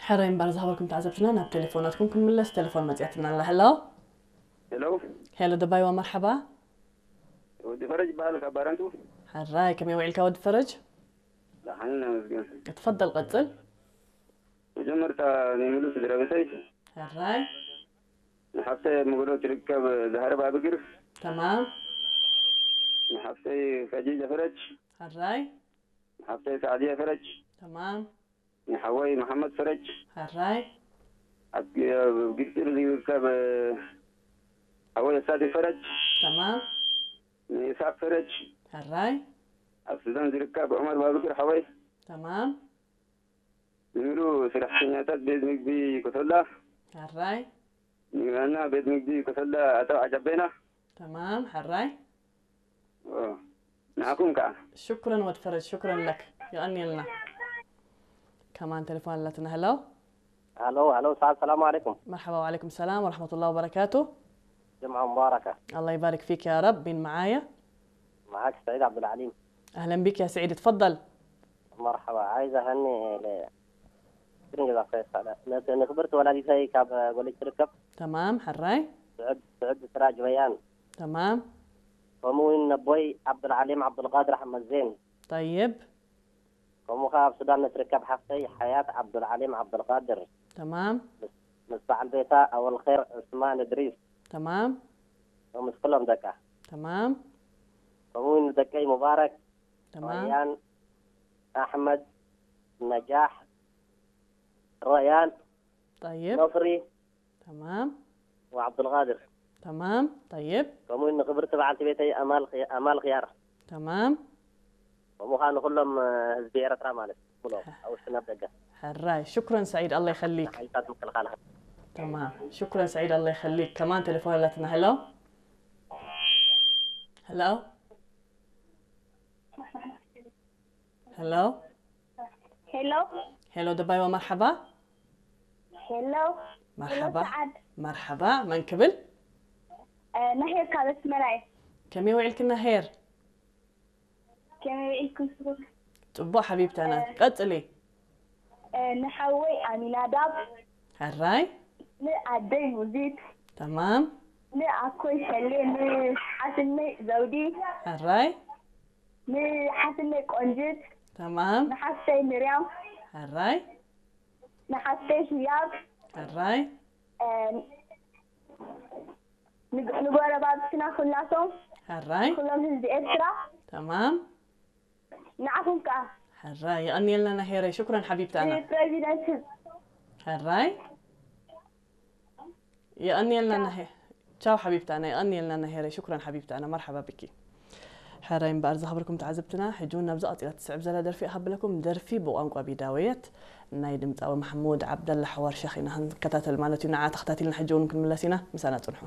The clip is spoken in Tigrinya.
ሕራይ እምበር ዝሃበልኩም ተዓዘብትና ናብ ቴሌፎናትኩም ክንምለስ፣ ቴሌፎን መጽያትና ኣላ። ሄሎ። ሄሎ። ሄሎ ደባይዋ፣ መርሓባ። ወዲ ፈረጅ ይበሃል ካብ ባረንቱ። ሕራይ፣ ከመይ ውዒልካ ወዲ ፈረጅ? ደሓን ነመስገን። እትፈደል ቀጽል። መጀመርታ ንሙሉ ስድራ ቤተይ፣ ሕራይ። ንሓፍተይ ኣብ መጎዶ ትርከብ ዛህረብ ኣብግር፣ ተማም። ንሓፍተይ ከጂጀ ፈረጅ፣ ሕራይ። ንሓፍተይ ሳዕድየ ፈረጅ፣ ተማም። ንሓወይ መሓመድ ፈረጅ፣ ሕራይ። ኣብ ግ- ኣብ ግብፂ ዝርከብ ሓወይ ኣሳዲ ፈረጅ፣ ተማም። ንኢሳቅ ፈረጅ፣ ሕራይ። ኣብ ሱዳን ዝርከብ ዑመር ባብግር ሓወይ፣ ተማም። ንሙሉ ሰራሕተኛታት ቤት ምግቢ ኮቶላ፣ ሕራይ። ንዋና ቤት ምግቢ ኮቶላ ኣቶ ዓጃቤና። ተማም። ሕራይ። ኦ፣ ንዓኹም ከዓ። ሽኩረን ወድ ፈረጅ፣ ሽኩረን ለክ። የቐንየልና። ከማን ቴሌፎን ኣለትና። ሄሎ። هلو هلو سعد، السلام عليكم. مرحبا وعليكم السلام ورحمة الله وبركاته. جمعة مباركة. الله يبارك فيك يا رب. مين معايا؟ معاك سعيد عبد العليم. أهلا بك يا سعيد، تفضل. مرحبا، عايز أهني ل- كرنج إذا خير سعد. نت- نخبرت ولدي زي كاب قولي تركب. تمام، حراي. سعد سعد سراج بيان. تمام. وموين نبوي عبد العليم عبد القادر أحمد زين. طيب. ከምኡ ኸዓ ኣብ ሱዳን ንትርከብ ሓፍተይ ሓያት ዓብዱልዓሊም ዓብዱልቃድር تمام. ምስ በዓል ቤታ ኣወልኸይር ዑስማን እድሪስ تمام. ወምስ ኩሎም ደቃ تمام. ከምኡ እውን ንደቀይ ሙባረክ تمام. ረያን ኣሕመድ ነጃሕ ረያን طيب. ነስሪ تمام. ወዓብዱልቃድር تمام. طيب. ከምኡ እውን ንክብርቲ በዓልቲ ቤተይ ኣማል ኽያ- ኣማል ኽያር تمام. ከምኡ ከዓ ንኩሎም ህዝቢ ኤረትራ ማለት ሙሉኦም ኣብ ውሽጥን ኣብ ደገ ሕራይ ሽኩረን ሰዒድ ኣላ ይኸሊክ ሓይልታት ምክልኻል تمام. شكرا سعيد الله يخليك. كمان تليفون لاتنا. هلو. هلو. هلو. ሄሎ ሄሎ ደባይዋ መርሓባ። ሄሎ መርሓባ። ሰዓድ። መርሓባ መን ክብል? ናሄር ካብ ኣስመራ እየ። ከመይ ውዒልክና ሄር? ከመይ ውዒልኩም? ጽቡቕ ሓቢብታና። ቀጽሊ። ንሓወይ ኣሚናዳብ፣ ሕራይ። ንኣደይ ሙዚት፣ ተማም። ንኣኮይ ሰሌ፣ ንሓትነይ ዘውዲ፣ ሕራይ። ንሓትነይ ቆንጅት፣ ተማም። ንሓፍተይ ምርያም፣ ሕራይ። ንሓፍተይ ህያብ፣ ሕራይ። ንጎረባብትና ኩላቶም ሕራይ። ኩሎም ህዝቢ ኤርትራ ተማም። ንዓኹም ከኣ ሕራይ የቐንየልና ናሄረይ። ሽኩረን ሓቢብታና። ንፕረዚደንት ህዝቢ ሕራይ የቐንየልና ናሄ ቻው ሓቢብታና። የቐንየልና ናሄረይ። ሽኩረን ሓቢብታና። መርሓባ ብኪ። ሕራይ እምበኣር ዝኸበርኩም ተዓዘብትና፣ ሕጂ እውን ናብዛ ቀጺላ ትስዕብ ዘላ ደርፊ እሃብለኩም። ደርፊ ብቋንቋ ቢዳወየት ናይ ድምጻዊ ማሕሙድ ዓብደላ ሓዋር ሸኽ ኢና ክንከታተል ማለት እዩ። ንዓ ተኸታቲልና ሕጂ እውን ክንምለስ ኢና። ምሳና ጽንሑ።